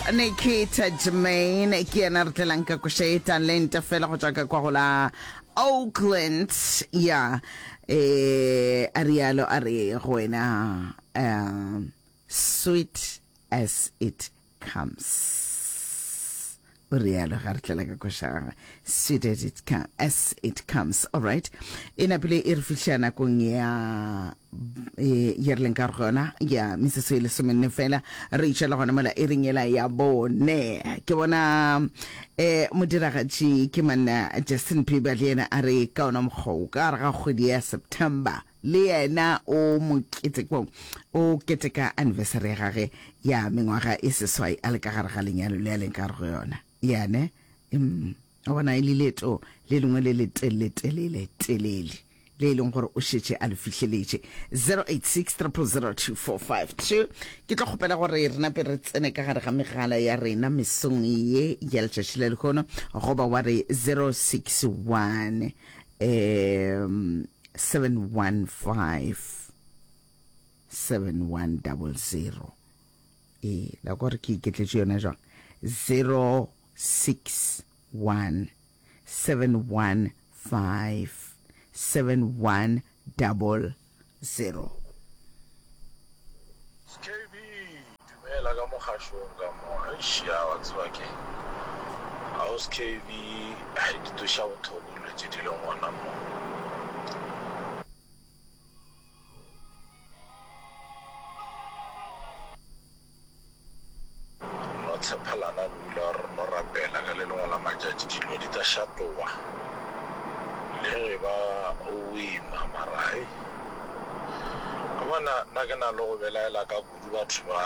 Nikita Jermaine ke yena re tlelang ka koša e talente fela go tšwa ka kwa go la Oakland ya eh a rialo a re go wena um sweet as it comes o rialo ga re tlela ka koša gagwe sweet as it, com as it comes all right e napile e re fihla nakong ya e, ye re leng ka go yona ya metsotso e lesomenne fela re itšwela gona mola e reng ela ya bone ke bona um modiragatši ke manna Justin Bieber le yena a re ka ona mokgwa o ka gare ga kgwedi ya September le yena o moketekong o keteka anniversary ya gage ya mengwaga e seswai a le ka gare ga lenyalo le a leng ka gare go yona yane mm, o bona e le leeto le lengwe le le telele telele le e leng gore o šetše a le fihleletše 086 0002452 ke tlo kgopela gore re nape re tsene ka gare ga megala ya rena mesong ye ya letšatši la lehono goba wa re 061 um 715 7100 ee la gore ke iketletše yona jwang 061 715 7100. KB, Dumela ka mo kgašong ka mo. Eish ya wa tseba ke Aus KB, hai di tsoša bohloko dilo tše di leng gona mo. Re no tshepelana ruri gore re no rapela ka le lengwe la matšatši dilo di tla šatoga le ge ba o boima mara hei wa bona nna ke na le go belaela ka kudu batho ba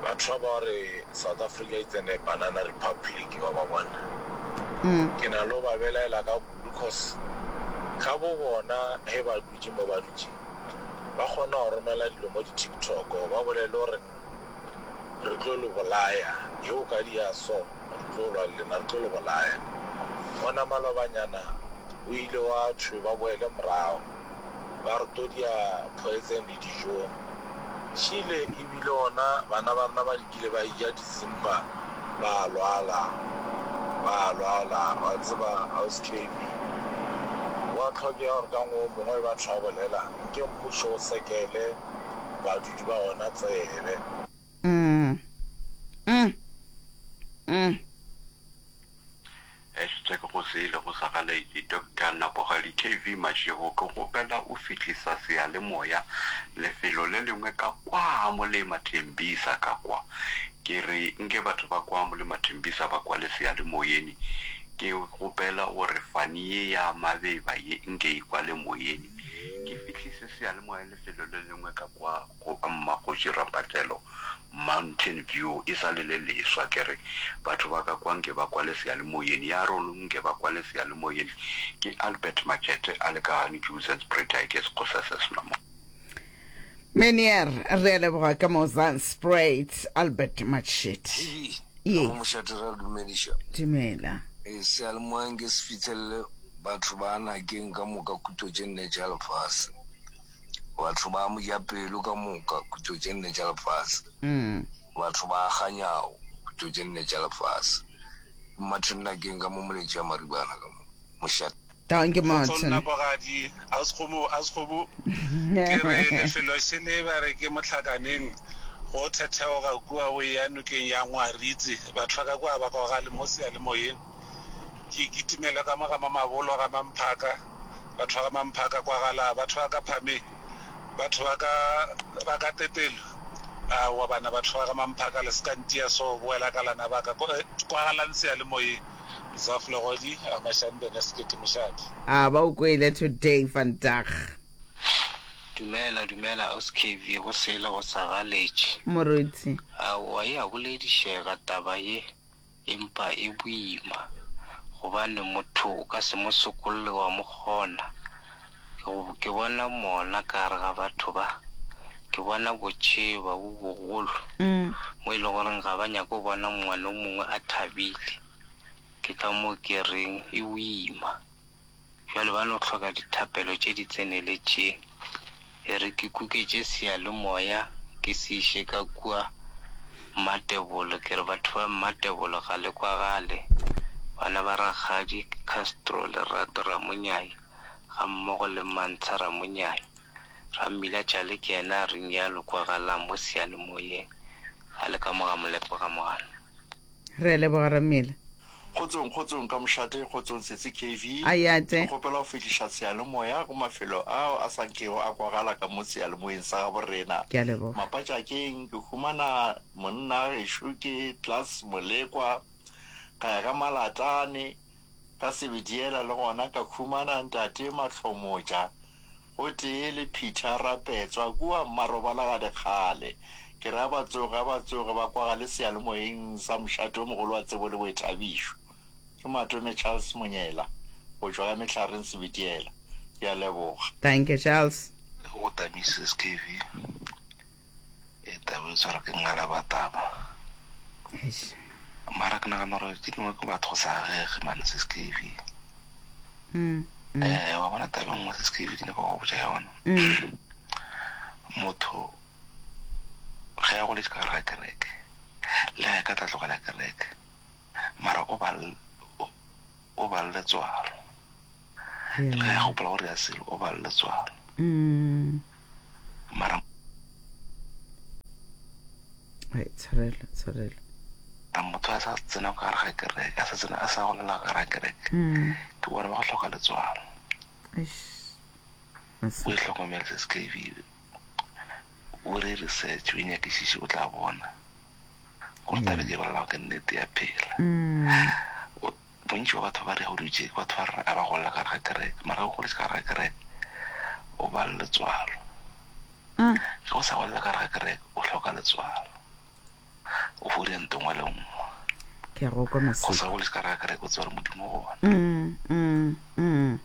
batho ba ba gore South Africa e tsene banana republic wa ba bona ke na le go ba belaela ka kudu cause ka bo bona ge ba dutše mo ba dutšeng Ba kgona go romela dilo mo di TikTok ba bolele gore re tlo le bolaya, ge o ka dia so re tlo lwa le lena, re tlo le bolaya. Gona malobanyana o ile wa thwe ba boele morago ba re tlo dia poison le dijong. Šile e bile gona bana ba rena ba dikile ba eja dizimba ba lwala, ba lwala wa tseba Ausi KB. Go a hlokega gore ka ngwe o mongwe batho ba bolela nke mmušo o sekele badudi ba ona tsebe. Mm. Mm. Mm. Hashtag go sele go sa galaetše Doctor Napogadi KV Mashego ke kgopela o fihlisa seyalemoya lefelo le lengwe ka kwa Molema Thembisa ka kwa ke re nke batho ba kwa Molema Thembisa ba kwale seyalemoyeni ke kgopela gore fani ye ya mabeba ye nke e kwale moyeni ke fihlise seyalemoya lefelo le lengwe ka kwa go Mmakgoši Rampatlelo Mountain View e sa le le leswa ke re batho ba ka kwa nke ba kwale seyalemoyeng ya rolo nke ba kwale seyalemoyeng ke Albert Machete a le ka gane Johannesburg ke sekgosa se sena mo. Meneer, re a leboga ka mo Zandspruit, Albert Machete. Hei, Ye. ka mo mošate ra dumediša. Dumela. Ee, seyalemoya nke se fihlelele batho ba Nakeng ka moka kutlo tše nne tša lefase. Batho ba mojapelo ka moka, kutlo tše nne tša lefase. Batho ba kganyago, kutlo tše nne tša lefase. Ke Martin Nakeng ka mo Moletši ya Maribana ka mo mošate. Dankie Kgotso Martin. nna bogadi auskgomo auskgomo ke re lefelo šele ba re ke mohlakaneng go thetheoga kua o eya nokeng ya Ngwaritse batho ba ka kua ba kwagale mo seyalemoyeng ke kitimele ka mo ga Mamabolo ga Mamphaka Batho ba ga Mamphaka kwagala, batho ba ka Phame, batho ba ka ba ka Tetelo. Aowa bana, batho ba ga Mamphaka le se ka ntia so, boela ka lana ba ka. Kwagalang seyalemoyeng. Zaf Legodi, a Mashanbene Sekete Mošate. A ba o kwele today vandag. Dumela dumela Aus KV go sele go sa galetše. Moruti. Aowa e a boledišega taba ye. Empa e boima, gobane motho o ka se mo sokolle wa mo kgona. Ke, ke bona mona ka gare ga batho ba. Ke bona botšheba bo bogolo, mo e lego goreng ga ba nyake go bona ngwana o mongwe a thabile. Ke ka moo ke reng e boima. Bjale ba no hloka dithapelo tše di tseneletšeng. E re ke kuketše seyalemoya ke se iše ka kua. Mmatebolo, ke re batho ba Mmatebolo ga le kwagale. Bana ba Rakgadi Castro Lerato Ramonyai gammogo le Mantsha Ramonyai. Rammila Tšale ke yena a reng ya lo kwagalang mo seyalemoyeng a le ka mo ga Molepo ga Mogano. Re a leboga Rammila. Kgotsong, kgotsong ka mošate, kgotsong sesi KV. Ayate. Ke kgopela go fihliša seyalemoya go mafelo ao a sa nkego a kwagala ka mo seyalemoyeng sa gabo rena. Ke a leboga. Mapatšakeng ke humana monna gešo ke Klaas Molekwa, ka ya ka Malatlane, ka Sebediela le gona ka humana ntate Mahlomotša gotee le Peter Rapetswa kua Mmarobalagadi kgale. Ke re a ba tsoge, a ba tsoge, ba kwagale seyalemoyeng sa mošate o mogolo wa tsebo le boithabišo. Ke Matome Charles Monyela, go tšwa ka Mehlareng Sebitiela. Ke a leboga. Thank you Charles. Go tamise SKV e taba e tshwara ke ngalaba taba. Eish. Mara ke nagana gore tše dingwe ke batho go sa agege mane SKV. Mm. Mm. Eh wa bona taba e nngwe SKV ke nyaka go botša yona. Mm. Motho ge a goletše ka gare ga kereke le ge a ka tla tlogela kereke mara o ba o ba le letswalo. Le ge a gopola gore ya selo o ba le letswalo. Mm. Mara Ai, tshwarelo, tshwarelo. motho a sa tsena ka gare ga kereke, a sa tsena a sa golela ka gare ga kereke, Mm. ke bona ba go hloka letswalo. Eish. O e hlokomele se SKV. O re research, o e nyakišiše o tla bona gore taba e ke e bolelago ke nnete ya phela. Mm. Bontši bja batho ba re go dutše ke batho ba re a ba golela ka gare ga kereke, mara ge o goletše ka gare ga kereke o ba le letswalo. Ge o sa golela ka gare ga kereke o hloka letswalo, o fo dira nto nngwe le nngwe. Ke a go kwa Go Maseko. sa goletše ka gare ga kereke o tseba gore Modimo o gona. Mm, mm, mm.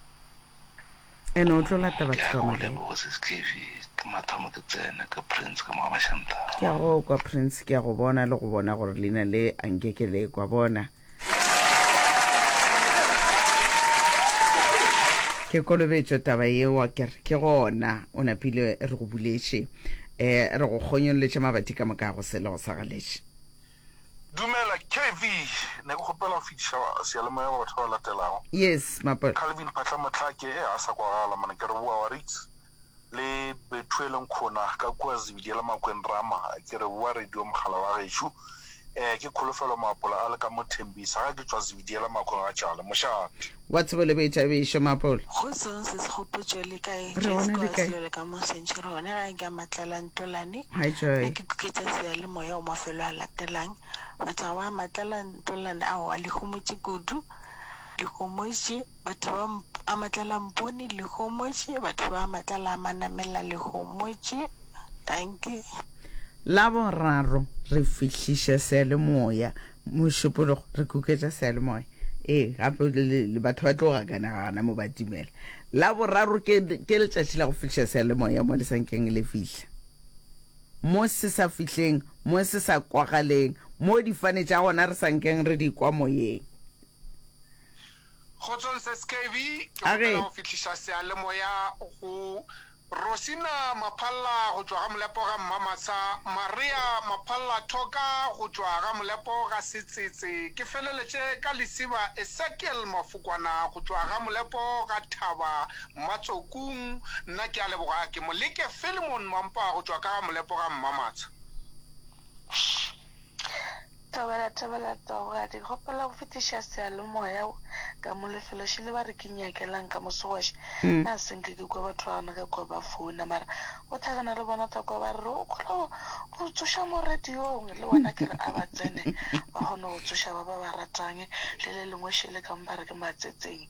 Ene o tlo lata Ke batho a ka go moka. leboga Sis Kevy, ke mathomo ke tsene ke Prince ka mo ga Mashantara. Ke a go kwa Prince, ke a go bona le go bona gore leina le a nke ke le kwa bona. Ke kolobetšo taba yeo ke re ke gona o napile re go buletše eh re go kgonyolletše mabati ka moka go sele go sa galetše. Dumela KV, ne ke kgopela go fetiša seyalemoya go batho ba ba latelago. Yes, Mapole. Calvin Phatla Mohlake, e a sa kwagala mane ke re boa wa Ritz le Bethuel Nkhona ka kua Zebediela Makweng Rama, ke re boa radio mogala wa gešo. Eh ke Kholofelo Maapola a le ka mo Thembisa ga ke tšwa Zebediela Makweng ga Tšale. Mošate. Wa tsebo le boithabišo, Mapole. Kgotsong sesi Kgopotšo le kae? Re Joyce gona le kwa kae? Selelo ka mo Century gone gae ka Matlala Ntolane. Hi Nna Joy. ke kuketša seyalemoya go mafelo a latelang. Batho ba Matlala Ntolane aowa le homotše kudu, le homotše. Batho ba a Matlala Mpone le homotše, batho ba Matlala a Manamela le homotše. Dankie. Laboraro re fihliša seyalemoya, Mošupologo re kuketša seyalemoya. Ee, gape batho ba tlo gakana gana mo ba timela. Laboraro ke, ke letšatši la go fihliša seyalemoya mo le sa nkeng le fihla. Mo se sa fihleng, mo se sa kwagaleng, mo difane tša gona re sa nkeng re di kwa moyeng. Kgotsong Sis KB, ke A re. kgopela go fihliša seyalemoya go Rosina Maphalla go tšwa ga Molepo ga Mmamatsha, Maria Maphalla Thoka go tšwa ga Molepo ga Setsetse, ke feleletše ka Lesiba Esekiel Mafokwana go tšwa ga Molepo ga Thaba Mmatsokung. Nna ke a leboga, ke Moleke Philemon Mampa go tšwa ka ga Molepo ga Mmamatsha. Thobela, thobela, Taugadi. Kgopela go fetiša seyalemoya ka mo lefelo šele ba re ke nyakelang ka mo Segwaši. Nna se nke ke kwa batho ba gona ka kwa ba founa mara go hlakana le bona tla kwa ba re o kgona go go tsoša mo radiong le bona ke re a ba tsene ba kgone go tsoša ba ba ba ratang le le lengwe šele ka mo ba re ke matsetseng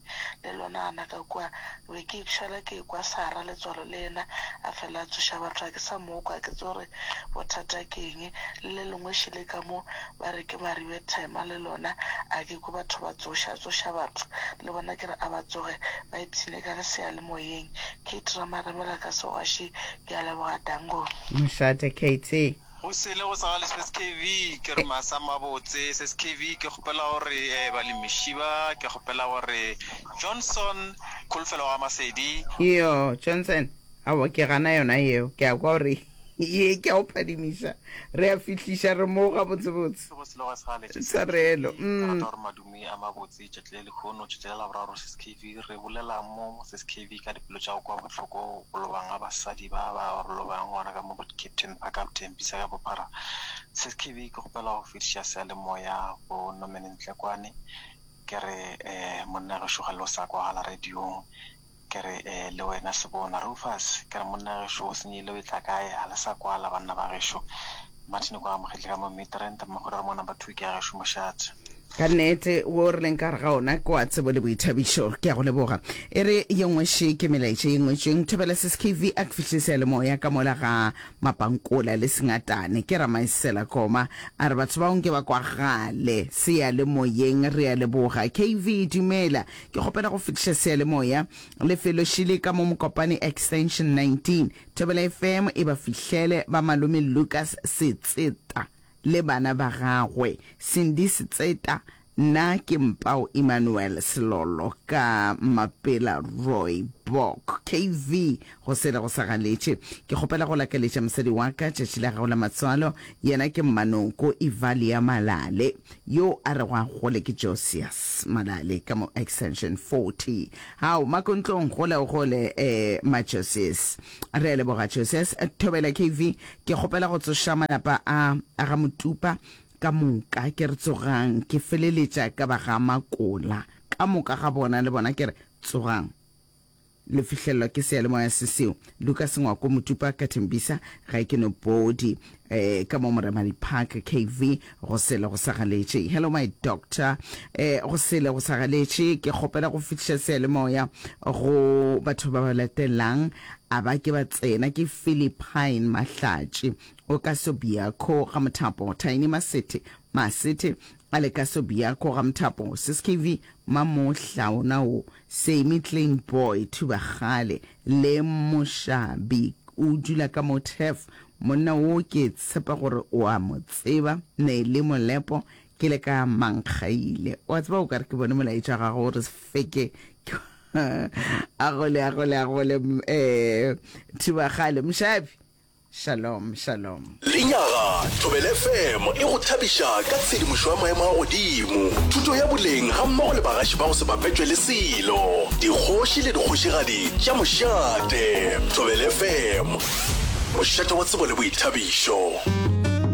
le lona gana ka kwa be ke šala ke kwa Sarah letswalo le yena a fela a tsoša batho a ke sa mo kwa ke tsore bothata ke eng le le lengwe šele ka mo ba re ke Maribe Thema le lona a ke kwe batho ba tsoša tsoša batho le bona ke re a ba tsoge ba ipshine ka seyalemoyeng Kate Ramaremela ka Segwaši ke a leboga dango. Mošate KT. Go sele go sa gale Sis KV ke re masa mabotse Sis KV ke kgopela gore eh, balemiši ba ke kgopela gore Johnson Kholofelo ga Masedi Iyo, Johnson, aowa ke gana yona yeo. Ke a kwa gore. Ye ke a o phadimiša. Re a fihliša re mo gabotsebotse. Sego se lego sa letše Tshwarelo. Ke rata gore madume a mabotse tšatši le lehono tšatši la Laboraro Sis KV re bolela mo Sis KV ka dipelo tša go kwa bohloko go lobang ga basadi ba ba re lobang gona ka mo Captain Park ka Tembisa ka bophara Sis KV ke kgopela go fetiša seyalemoya go Norman Ntlekwane ke re eh monna gešo ga le o sa kwagala radiong Ke re, Ee, le wena Sebona. Rufus, ke re, monna gešo o senyehile o etla kae? Ga le sa kwala, banna ba gešo. Martin kwa amogetše ka mo Midrand, Mmakgwedi wa re mo number two ke ya gešo mošate. Ka nnete, wo re leng ka gare ga ona ke wa tsebo le boithabišo. Ke a go leboga. E re ye nngwe še ke melaetša ye ngwetšweng. Thobela Sis KV a ke fihle seyalemoya ka mola ga Mapankola le Sengatane. Ke Ramaesela Koma a re batho bao nke ba kwagale seyalemoyeng. Re a leboga. KV, dumela. Ke kgopela go fetiša seyalemoya lefelo šele ka mo Mokopane Extension 19. Thobela FM e ba fihlele ba malome Lucas Setseta le bana ba gagwe Cindy Setseta, nna ke Mpao Emmanuel Selolo ka Mapela Roy Bok. KV go sele go sa galetše. Ke kgopela go lakaletša mosadi wa ka tšatši la gagwe la matswalo, yena ke Mmanoko Evalia Malale. Yo a rego a gole ke Josias Malale ka mo Extension 40. Hao, Makontlong, gole o gole, eh, ma Josias. Re a leboga, Josias. Thobela KV, ke kgopela go tsoša malapa a, a ga Motupa ka moka. Ke re tsogang, ke feleletša ka ba ga Makola. Ka moka ga bona, le bona ke re tsogang. Le fihlelelwa ke seyalemoya se seo. Lukas Ngwako Motupa ka Thembisa ga ke no body eh ka mo Moremadi Park KV go sele go sa galetše. Hello my doctor eh go sele go sa galetše ke kgopela go fihliša seyalemoya go batho ba ba latelang a ba ke ba tsena ke Philippine Mahlatši o ka Sobiako ga Mothapo Tiny Masethe Masethe a le ka Sobiako ga Mothapo Sis KV Mamohla ona wo Semi Klein Boy Thubagale le Moshabi o dula ka mo Turf. Monna wo ke tshepa gore o a mo tseba. Nelly Molepo ke le ka Mankgaile. Wa tseba o ka re ke bone molaetša wa gago o re feke a gole a gole a gole eh Thubagale Moshabi. Shalom, shalom. Lenyaga, Thobela FM e go thabiša ka tshedimošo ya maemo a godimo, thuto ya boleng gammogo le bagaši ba go se bapetšwe le selo, dikgoši le dikgošigadi tša mošate. Thobela FM, mošate wa tsebo le boithabišo.